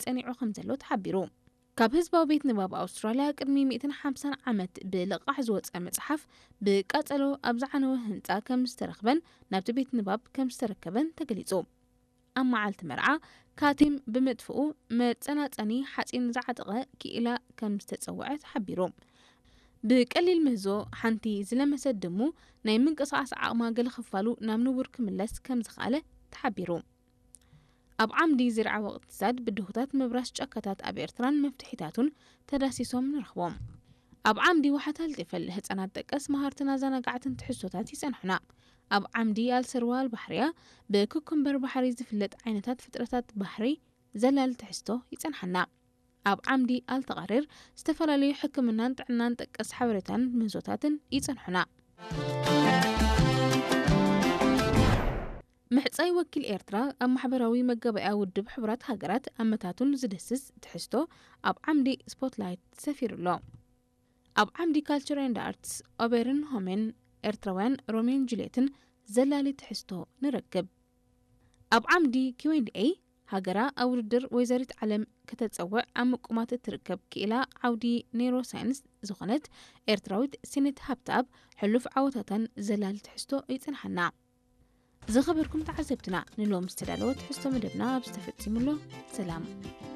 ጸኒዑ ከም ዘሎ ተሓቢሩ። ካብ ህዝባዊ ቤት ንባብ ኣውስትራልያ ቅድሚ ሚእትን ሓምሳን ዓመት ብልቓሕ ዝወጸ መጽሓፍ ብቃጸሎ ኣብ ዝዓነወ ህንጻ ከም ዝተረኽበን ናብቲ ቤት ንባብ ከም ዝተረከበን ተገሊጹ። ኣብ መዓልቲ መርዓ ካቲም ብምጥፍኡ መጸናጸኒ ሓጺን ዝዓጠቐ ክኢላ ከም ዝተጸውዐ ተሓቢሩ። ብቀሊል ምህዞ ሓንቲ ዝለመሰት ድሙ ናይ ምንቅስቓስ ዓቕማ ገለ ክፋሉ ናብ ንቡር ክምለስ ከም ዝኸኣለ ተሓቢሩ። ኣብ ዓምዲ ዝርዓወ እቕትሳድ ብድሆታት ምብራስ ጫካታት ኣብ ኤርትራን መፍትሒታቱን ተዳሲሶም ንረኽቦም። ኣብ ዓምዲ ዋሕታል ጢፈል ህጻናት ጠቀስ መሃርትን ኣዘናጋዕትን ትሕዝቶታት ይጸንሑና። ኣብ ዓምዲ ኣልሰርዋ ኣልባሕርያ ብኩኩምበር ባሕሪ ዝፍለጥ ዓይነታት ፍጥረታት ባሕሪ ዘላል ትሕዝቶ ይጸንሓና። ኣብ ዓምዲ ኣልተቓሪር ዝተፈላለዩ ሕክምናን ጥዕናን ጠቀስ ሓበሬታን ምህዞታትን ይጸንሑና። ምሕጻይ ወኪል ኤርትራ ኣብ ማሕበራዊ መጋበእያ ውድብ ሕቡራት ሃገራት ኣመታቱን ዝድህስስ ትሕዝቶ ኣብ ዓምዲ ስፖትላይት ሰፊሩ ኣሎ። ኣብ ዓምዲ ካልቸር ኤንድ ኣርትስ ኦቤርን ሆሜን ኤርትራውያን ሮሜን ጁልየትን ዘላሊ ትሕዝቶ ንረክብ። ኣብ ዓምዲ ኪው ኤንድ ኤ ሃገራ ኣብ ውድድር ወይዘሪት ዓለም ከተጸውዕ ኣብ ምቁማት እትርከብ ክኢላ ዓውዲ ኔይሮ ሳይንስ ዝኾነት ኤርትራዊት ሲኔት ሃብተኣብ ሕሉፍ ዓወታታን ዘላሊ ትሕዝቶ ይጽንሓና። ዝኸበርኩም ተዓዘብትና፣ ንሎም ዝተዳለወ ትሕዝቶ መደብና ኣብ ዝተፈጺሙ ኣሎ። ሰላም።